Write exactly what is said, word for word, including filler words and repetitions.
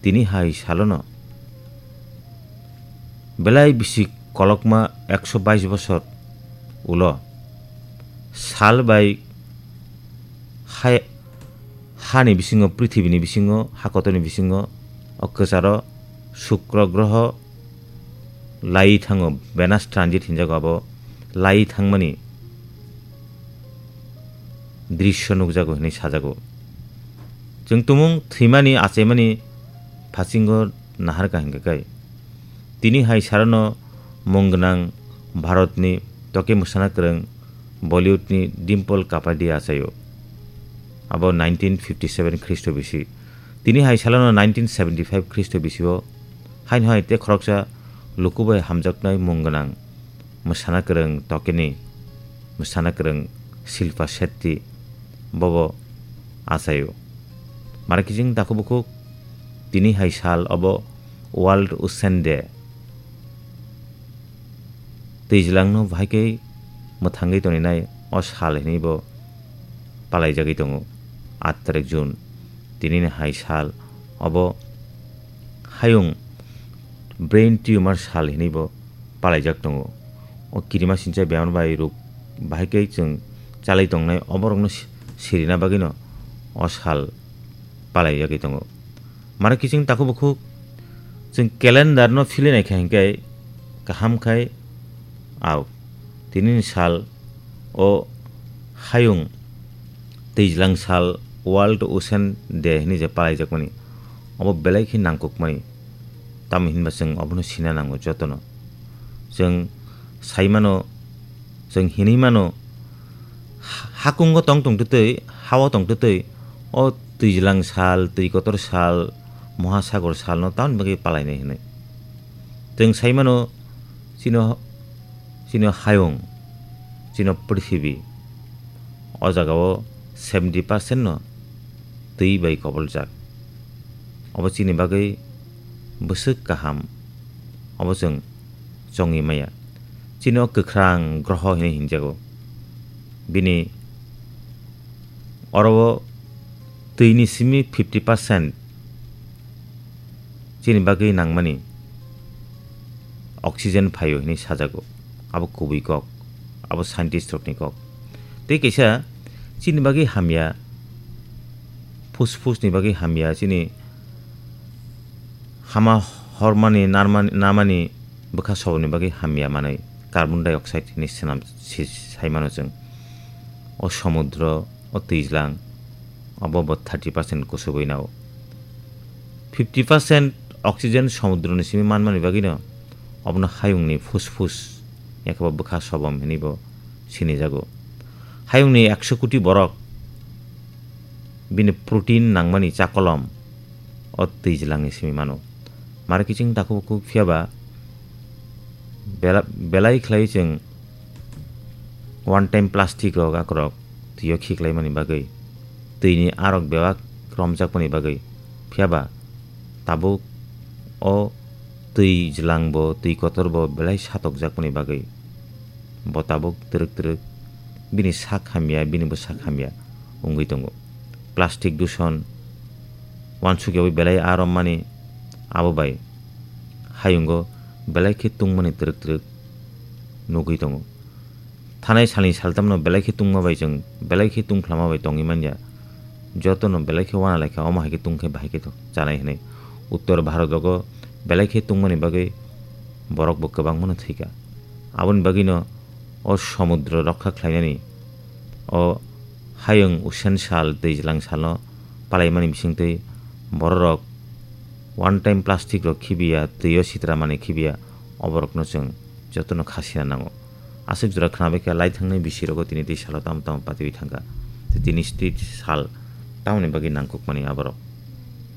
tini hai salono belai bisi kolokma ekso bais bosor ulo sal bai hai, hani bisingo, prithibini bisingo, hakotorni bisingo, o kwcharo Sukro groho lai thango, Venus transit hinjago, abo lai thangmani drisyo nukjago hinwi sajago. Chwng tumung thwimani, achaimani phasingo naharkha hinkhe kai. Tini hai sarano mung gwnang Bharatni toke mwsana kwrwng Bollywoodni Dimple Kapadia achaio. Abo nineteen fifty seven Khristo bisi. Tini hai salano nineteen seventy five Khristo bisio haino hai tei khoroksa luku bai hamjaknai mung gwnang mwsana kwrwng tokeni mwsana kwrwng Shilpa Shetty bobo achaio. Mara kiching takhuk bukhuk tini hai sal obo World Ocean Day. Twijlangno bahai khe mwthangwi toninai o sal hinwi bo palaijagwi tongo. Aat tarik June, tinini hai sal obo hayung brain tumor sal hinwi bo palaijak tongo. O kirima sincha bemar bai rok bahai khe chwng chalai tongnai, oborokno si-, sirina bagwino o sal palaijagwi tongo. Mara kiching takhuk bukhuk chwng calendar no philwi naikha hinkhe kaham khai au. Tinini sal o hayung twijlang sal World Ocean Day hinwi je palaijakmani, obo belai khe nangkukmani. Tamo hinba chwng obono sina nango jotono. Chwng sai mano, chwng hinwi mano, ha-, hakungo tong tongtwtwi, hao tongtwtwi, o twijlang sal, twi kotor sal, mohasagor salno tamoni bagwi palainai hinwi. Chwng sai mano, chini, chini hayung, chini prithibi, o jagao seventy percent no twi bai koboljak. Obo chini bagwi bwswk kaham, obo chwng chongwi maya. Chini o kwkhrang groho hinwi hinjago. Bini oro o twini simi fifty percent chini bagwi nangmani oxygen phaio hinwi sajago. Abo kubui kok, abo scientist rokni kok. Tei kaisa chini bagwi hamya, phusphusni bagwi hamya, chini hama hormani, narmani, namani bwkha soboni bagwi hamya manwi carbon dioxide hinwi swnam si-, sai mano chwng. O somudro, o twijlang, obo bo thirty percent kusubui nao. Fifty percent oxygen somudroni simi manmani bagwino obono hayungni phusphus, yakhe bo bwkha sobom hinwi bo sinijago. Hayungni ekso koti borok bini protein nangmani chakolom o twijlangni simi mano. Mara kiching takhuk bukhuk phiyaba bela-, belai khlai chwng one time plastic rok akorok twio khiklaimani bagwi, twini arok bebak romjakmani bagwi, phiyaba tabuk o twijlang bo, twi kotor bo belai satokjakmani bagwi, bo tabuk twrwk twrwk bini sak hamya, bini bwsak hamya wngwi tongo. Plastic duson uansukyaui belai aa rommani, abo bai hayungo belai khe tungmani twrwk twrwk nugwi tongo. Thanai salni saltamno belai khe tungma bai chwng, belai khe tungkhlama bai tongwi manya. Jotono belai khe uana laikha, omo hai khe tungkhe bahai khe to chanai hinwi. Uttor Bharat rogo belai khe tungmani bagwi borok bo kwbangmano thwikha. Aboni bagwino o somudro rokha khlainani, o hayung usen sal, twijlang salno palaimani bisingtwi bororok one time plastic rok khibiya, twio sitra manwi khibiya, oborokno chwng jotono khasina nango. Aswk jora khnabaikha, lai thangnai bisirogo tini tei salo tamo tamo patiwi thangkha. Tei tini tei sal tamoni bagwi nangkukmani aborok.